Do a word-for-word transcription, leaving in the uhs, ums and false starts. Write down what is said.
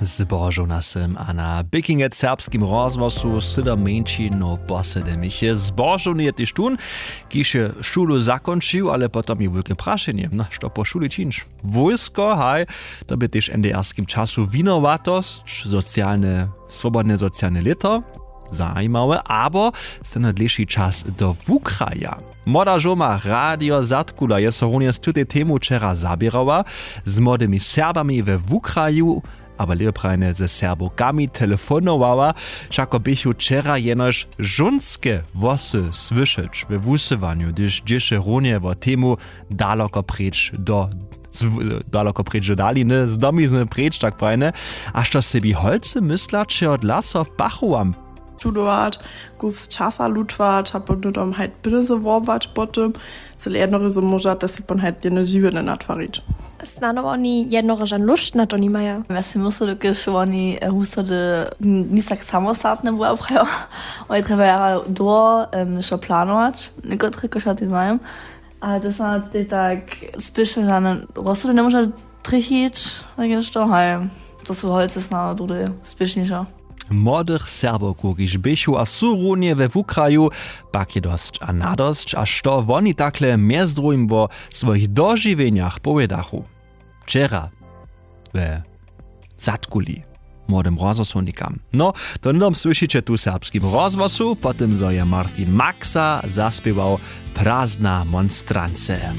Zbožowna sym a na pěkinje w serbskim rozhłosu sydom mjeńšinow posedymich je zbožowny je tež tón, kiž je šulu zakónčił, ale potom je wulke prašenje, no što po šuli čińć? Wójsko haj, to bě tež w ndrskim času winowatosć, socialne swobodne socialne lěto. Zajimawe abo stano dlěši čas do wukraja. Młoda žoma radio zadkula je so runje z tutej temu wčera zaběrała, z młodymi serbami we wukraju, abo lěpje prajene ze serbowkami telefonowała. Wšako běchu wčera jenož žónske hłosy słyšeć we wusyłanju, hdyž dźěše runje wo temu daloko preč do daloko preč do daliny z domizny preč tak prajene. A što sebi holcy mysla čehodla so pachowam? Studować, kus časa lutwać a potom hajt bydze wobwać potom, cyle jednorezo móža te se pon hajt jedne žiwjene natwarić. Snano oni jednoroža nóšt na to nimaja. Ja si myslu dokelž oni husody nic tak samostatne była prajo. Oni trjebaja dołho wšo planować, někotre košaty znajem. A to so na tej tak spěšnje žane rozsudy njemóža trjechić, tak je to haj, to su holcy snano druhdy spěšniše. Młodych serbowkow kiž běchu a su runje we wukraju, pak je dosć a nadosć a što woni takle mjez druhim wo swojich dožiwjenjach powědachu wčera we zadkuli młodym rozhłosownikam. No, to hnydom słyšiće tu w serbskim rozhłosu po tym zo je martin maxa zaspěwał. Prazna monstrance.